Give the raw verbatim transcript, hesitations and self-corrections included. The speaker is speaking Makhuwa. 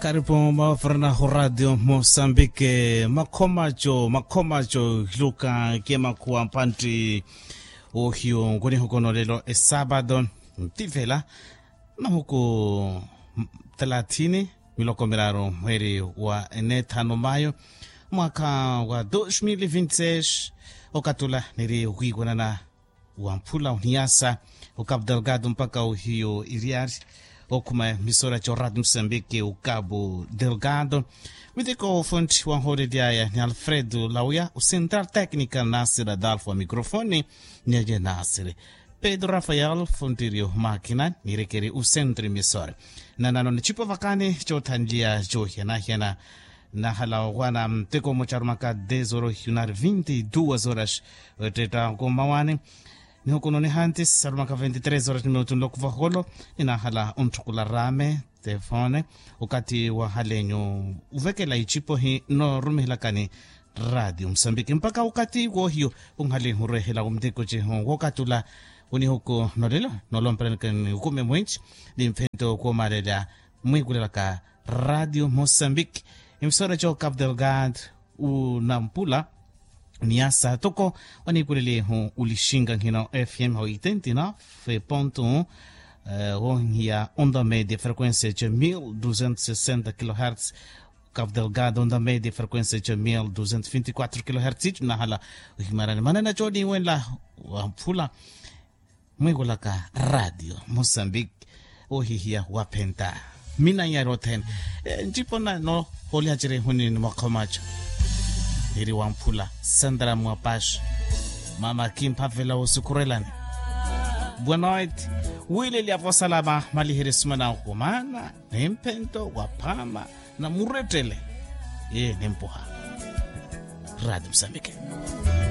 Karipu mwaforana ho radio mosambike makhomaco makhomaco hiluka kemakhuwa mpantti. Ohiyo nkunihuko nolelo esapado ntivela mahuku talathini miloko miraru mweri wa enethano mayo mwaka wa dos mil vinti seis. Okatula niri wiiwanana wa mphula oniyasa o cabo delgado mpaka ohiyo iriyari okhuma misora co radio mosambike o cabo delgado. Miteko ofunthi wanhoolelyaya ni alfredo lauya o central tecnica nasir adalfo wa microfone. Ni aye nasir pedro rafael funttiri omakina nirekeri o centro emisora. Nanano nicipo vakani cothanliya cohiyanahiyana. Nahala owana mteko mmoca arumaka dez horas ohiunari vinte e duas horas. Ottetta nkomawani nihukununi hanti sarumaka vinte e três horas minutu nloko vaholo. Ninahala ontthukula rame tefone okati wahalenyu ovekela icipo hi norumihelakani radio mosambiki mpaka okati wohiyo. Onhali nhuruwehela omteko cihu wokatula onihuku nolelo nolompelani kani okume mwinci ni mphento kwomalelya mwikulelaka radio mosambiki. Emisora co cabo delgado unampula niasa toko onikulelihu ulixinga nhina fm ho oitenta e nove ponto um. Wonhiya onda media frequencia co mil duzentos sesenta kilohertz. Cabo delgado onda media frequencia co mil duzentos vinte quatro kilohertz icu nahala ohimarani manena co niwenla wampula mwikulaka radio mosambiki. Ohihiya waphenta minanyari othene ncipo nano hoolihaceri ehuni ni mwakhomaco. Niri wamphula sandra mwapaxo mama kimphavela wosukhurelani. Boa noite. Wileli avosalama maliheri sumana okhumana ni mphento waphama na murettele. Ye nimpuha radio mosambiki.